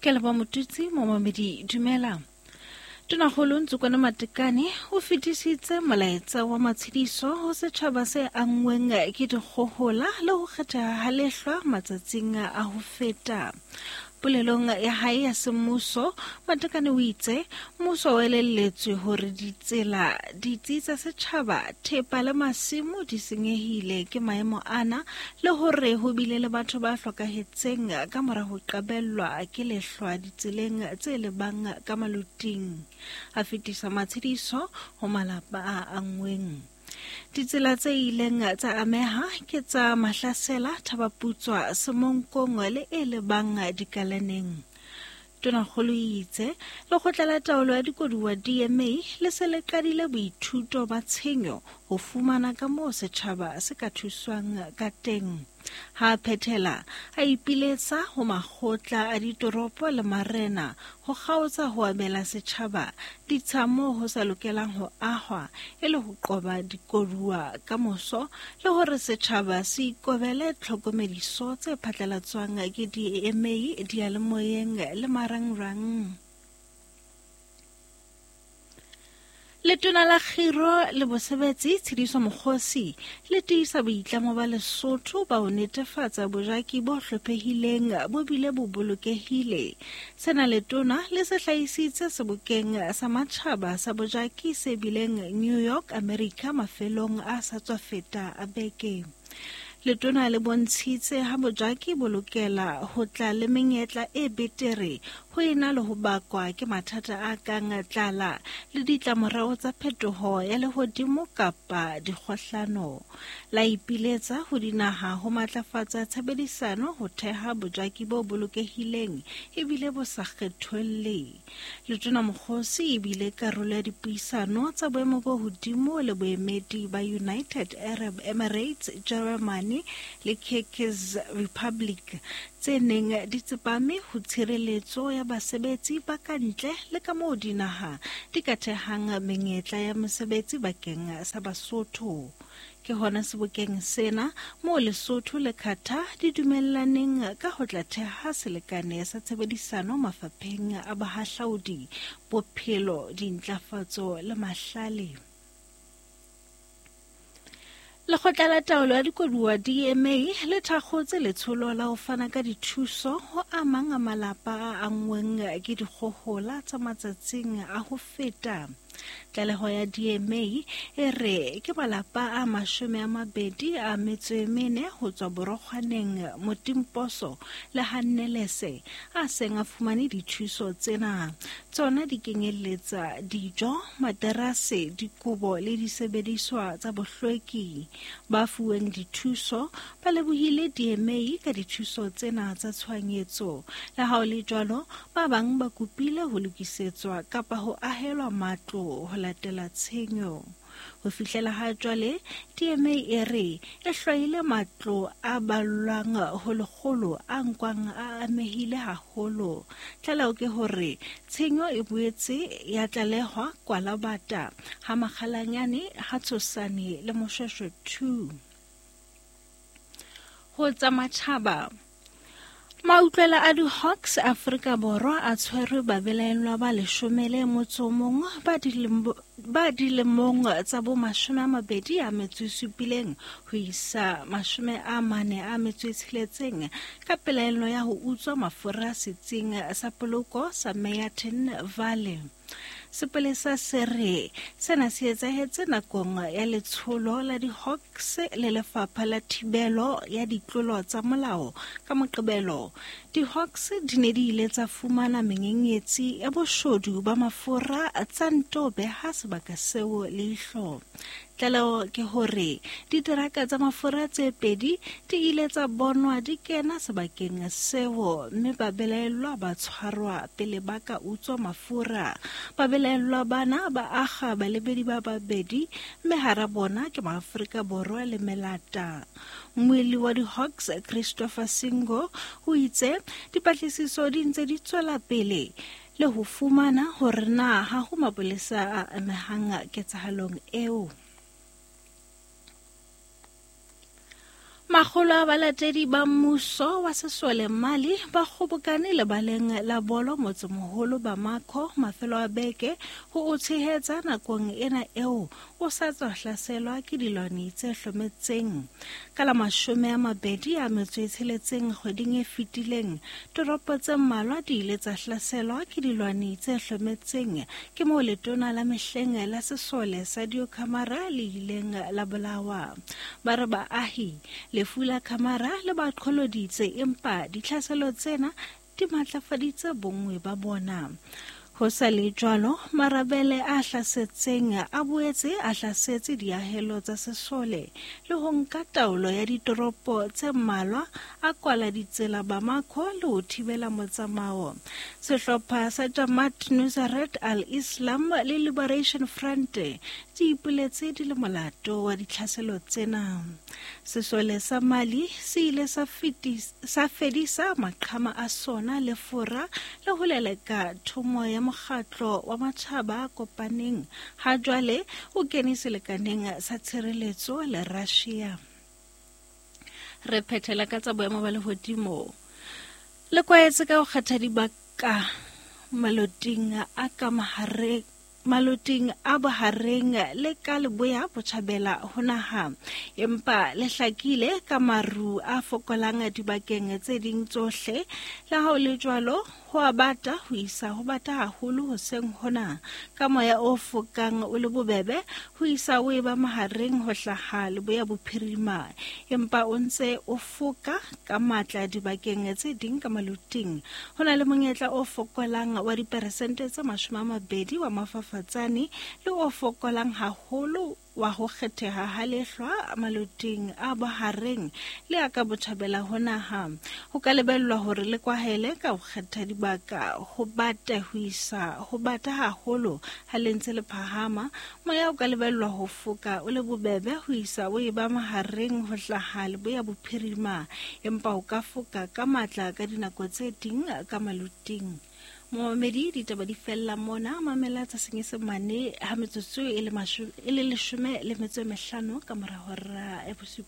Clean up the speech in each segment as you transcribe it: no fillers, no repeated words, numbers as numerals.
Ke leboha Motutsi, momamedi dumela. Tonakgolo Ntsukwana Matekane o fetisitse molaetsa wa matshediso ho setjhaba se anngweng ke dikgohola le ho kgetheha ha lehlwa matsatsing a ho feta. Polelong ya hae ya semmuso, Matekane o itse mmuso o elelletswe hore ditsela, ditsi tsa setjhaba, thepa le masimo di senyehile ke maemo ana le hore ho bile le batho ba hlokahetseng ka mora ho qabellwa ke lehlwa ditseleng tse lebang ka maluting. A fetisa matshediso ho malapa a anngweng. Ditsela tse ileng tsa ameha ke tsa Mahlasela, Thabaputswa, Semonkong le e lebang Dikalaneng. Tonakgolo e itse lekgotla la taolo ya dikoduwa DMA le se le qadile boithuto ba tshenyo ho fumana ka moo setjhaba se ka thuswang ka teng. Ha a phethela, a ipiletsa ho makgotla a ditoropo le marena ho kgaotsa ho abela setjhaba ditsha moo ho sa lokelang ho ahwa e le ho qoba dikoduwa ka moso le hore setjhaba se ikobele tlhokomediso tse phatlalatswang ke DMA diyalemoyeng le marangrang. Letona la Kgiro le Bosebetsi Tshidiso Mokgosi le tiisa boitlamo ba Lesotho ba ho netefatsa bojaki bo hlophehileng bo bile bo bolokehile. Sena letona le se hlahisitse sebokeng sa matjhaba sa bojaki se bileng New York, America mafelong a sa tswa feta a beke. Letona le bontshitse ha bojaki bo lokela ho tla le menyetla e betere ho ena le ho bakwa ke mathata a kang tlala le ditlamorao tsa phetoho ya lehodimo kapa dikgohlano. La ipiletsa ho dinaha ho matlafatsa tshebedisano ho theha bojaki bo bolokehileng ebile bo sa kgetholle. Letona Mokgosi e bile karolo ya dipuisano tsa boemo bo hodimo le boemedi ba United Arab Emirates, Jeremane le Kyrgyz Republic tse neng di tsepame ho tshireletso ya basebetsi ba ka ntle le ka moo dinaha di ka thehang menyetla ya mesebetsi bakeng sa Basotho. Ke hona sebokeng sena moo Lesotho le Qatar di dumellaneng ka ho tla theha selekane sa tshebedisano mafapheng a bohahlaudi, bophelo, dintlafatso le mahlale. Lekgotla la taolo ya dikoduwa DMA le thakgotse letsholo la ho fana ka dithuso ho a mang a malapa a anngweng ke dikgohola tsa matsatsing a ho feta. Tlaleho ya DMA e re ke malapa a 24 ho tswa Borokgwaneng, Motimposo le Hannelese a seng a fumane dithuso tsena. Tsona di kenyelletsa dijo, materase, dikobo le disebediswa tsa bohlweki. Ba fuweng dithuso ba lebohile DMA ka dithuso tsena tsa tshohanyetso. Le ha ho le jwalo, Ba bang ba kopile ho lokisetswa kapa ho ahelwa matlo ho latela tshenyo. Ho fihlela ha jwale, DMA e re e hlwaile matlo a ballwang ho lekgolo a nkwang a amehile haholo. Tlaleho ke hore tshenyo e boetse ya tlalehwa Kwalabata, ha Makgalanyane, ha Tshosane le Moshweshwe 2. Ho tsa matjhaba. Mautlwela a di-Hawks Afrika Borwa a tshwerwe babelaellwa ba leshome le motso mong ba dilemong tsa bo 27 ho isa 46 ka pelaello ya ho utswa mafura setsing sa poloko sa Meyerton Valley. Sepolesa se re sena se etsahetse nakong ya letsholo la di-Hawks le Lefapha la Thibelo ya Ditlolo tsa Molao ka Moqebelo. Di-Hawks di ne di ile tsa fumana menyenyetsi ya boshodu ba mafura tsa nto beha sebaka seo leihlo. Tlaleho ke hore diteraka tsa mafura tse pedi di ile tsa bonwa di kena sebakeng seo mme babelaellwa ba tshwarwa pele ba ka utswa mafura. Babelaellwa bana ba akga balebedi ba babedi mme hara bona ke Maafrika Borwa le melata. Mmuelli wa di-Hawks Christopher Singo o itse dipatlisiso di ntse di tswela pele le ho fumana hore na ha ho mapolesa a amehang ketsahalong eo. Makgolo a balatedi ba mmuso wa sesole Mali ba kgobokane lebaleng la bolo motsemoholo Bamako mafelo a beke ho o tshehetsa nakong ena eo o sa tswa hlaselwa ke dilwani tse hlometseng. Ka la 26 kgweding e fetileng, toropo tse mmalwa di ile tsa hlaselwa ke dilwani tse hlometseng. Ke moo letona la mehleng la sesole Sadio Camara le ileng la bolawa. Ba re baahi lefu la Camara le ba qholoditse, empa ditlhaselo tsena di matlafaditse bonngwe ba bona. Ho sa le jwalo, marabele a hlasetseng a boetse a hlasetse diahelo tsa sesole le ho nka taolo ya ditoropo tse mmalwa, a kwala ditsela Bamako le ho thibela motsamao. Sehlopha sa Jamaat Nusrat al-Islam le Liberation Front di ipoletse di le molato wa ditlhaselo tsena. Sesole sa Mali se ile sa fedisa maqhama a sona le Fora le ho leleka thomo ya mokgatlo wa matjhaba a kopaneng. Ha jwale o kene selekaneng sa tshireletso le Russia. Re phethela ka tsa boemo ba lehodimo. Le kwaetse ka ho kgetha dibaka maloting a ka mahareng, maloting a bohareng le ka leboya botjhabela ho naha, empa le hlakile ka maru a fokolang dibakeng tse ding tsohle. Le ha ho le jwalo, ho a bata ho isa ho bata haholo hoseng hona, ka moya o fokang o le bobebe ho isa o eba mahareng ho hlaha leboya bophirima, empa o ntse o foka ka matla dibakeng tse ding ka maloting. Ho na le monyetla o fokolang wa diperesente tse 20 wa mafafatsane le o fokolang haholo wa ho kgetheha ha lehlwa maloting a bohareng le a ka botjhabela ho naha. Ho ka lebellwa hore le kwahele ka ho kgetha dibaka ho bata ho isa ho bata haholo ha le ntse le phahama. Moya o ka lebellwa ho foka o le bobebe ho isa o eba mahareng ho hlaha leboya bophirima, empa o ka foka ka matla ka dinako tse ding ka maloting. Momamedi, ditaba di fella mona. Mamela tsa Senyesemane ha metsotso e le 15 ka mora hora ya 7.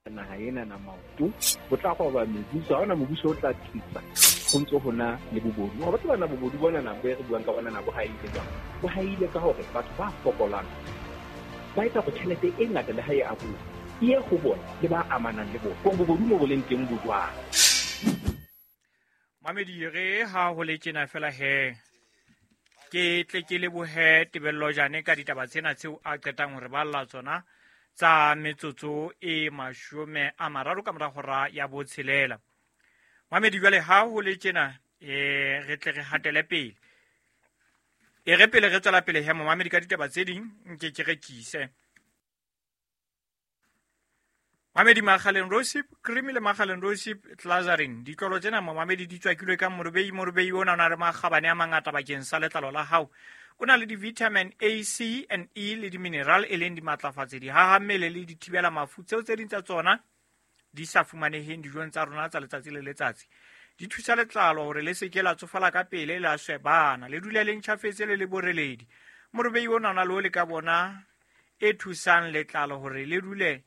Naha ena na maoto ho tla roba mebuso, ha hona mobuso o tla tsitsa ho ntse ho na le bobodu. Wa batho bana bobodu bona na bo re buang ka bona na bo haile jwang? Bo haile ka hore batho ba fokolang ba etsa hore tjhelete e ngata le ha e abuwa e ye ho bona le ba amanang le bona. Hore bobodu mo bo leng teng bo jwang? Mamedi re ha ho le tjena fela he ke tle ke lebohe Tebello Jane ka ditaba tsena tseo a qetang hore ba lla tsona tsa metsotso e 30 ka mora hora ya 6. Mamedi jwale ha ho le tjena re tle re hatele pele. E re pele re tswela pele he momamedi ka ditaba tse ding nke ke rekise. Mamedi Makgaleng Rosip Cream le Makgaleng Rosip Glazarin ditlolo tsena momamedi di tswakilwe ka morobei. Morobei ona o na le makgabane a mangata bakeng sa letlalo la hao. O na le di-vitamin A, C and E le di-mineral e leng dimatlafatsi, dihaha mmele le dithibela mafu tseo tse ding tsa tsona di sa fumaneheng dijong tsa rona tsa letsatsi le letsatsi. Di thusa letlalo hore le se ke la tsofala ka pele, la swebana, le dule le ntjhafetse le le boreledi. Morobei ona o na le o le ka bona e thusang letlalo hore le dule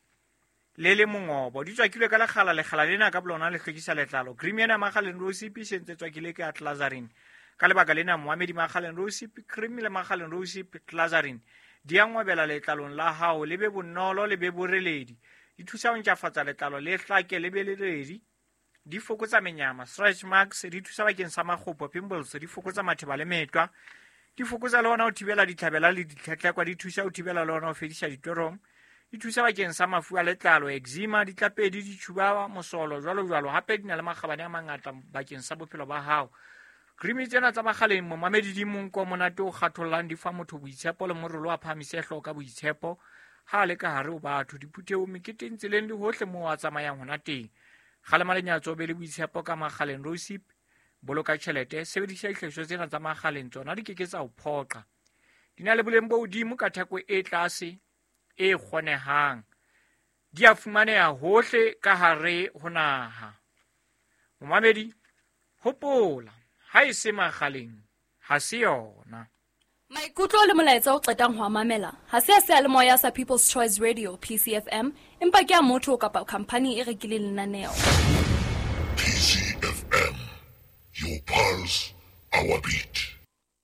le le mongobo. Di tswakilwe ka lekgala, lekgala lena ka bolona le hlwekisa letlalo. Cream ena Makgaleng Rosip e sentse tswakile ka Glazarin. Ka lebaka lena momamedi Makgaleng Rosip Cream le Makgaleng Rosip Glazarin di a ngwabela letlalong la hao, le be bonolo, le be boreledi. Di thusa ho ntjhafatsa letlalo le hlake le be leredi. Di fokotsa menyama, stretch marks, di thusa bakeng sa makgopo, pimples, di fokotsa matheba le metwa. Di fokotsa le hona ho thibela ditlhabela le ditlhetlhekwa, di thusa ho thibela le hona ho fedisa ditorong. Di thusa bakeng sa mafu a letlalo, eczema, ditlapedi, ditjhuba, mosolo, jwalo jwalo. Hape di na le makgabane a mangata bakeng sa bophelo ba hao. Cream tsena tsa Makgaleng momamedi di monko monate o kgathollang, di fa motho boitshepo le morolo a phahamise hlooho ka boitshepo ha a le ka hare ho batho, diphuthehong, meketeng, tseleng le hohle moo a tsamayang hona teng. Kgalema lenyatso, be le boitshepo ka Makgaleng Rosip. Boloka tjhelete, sebedisa dihlahiswa tsena tsa Makgaleng, tsona di ke ke tsa o phoqa. Di na le boleng bo hodimo ka theko e tlase e kgonehang. Di a fumaneha hohle ka hare ho naha. Momamedi, hopola Ha e se makgaleng, ha se yona. Maikutlo le molaetsa o qetang ho a mamela ha se a seyalemoya sa People's Choice Radio, PCFM, empa ke a motho kapa khamphani e rekileng lenaneo. PCFM, your pulse, our beat.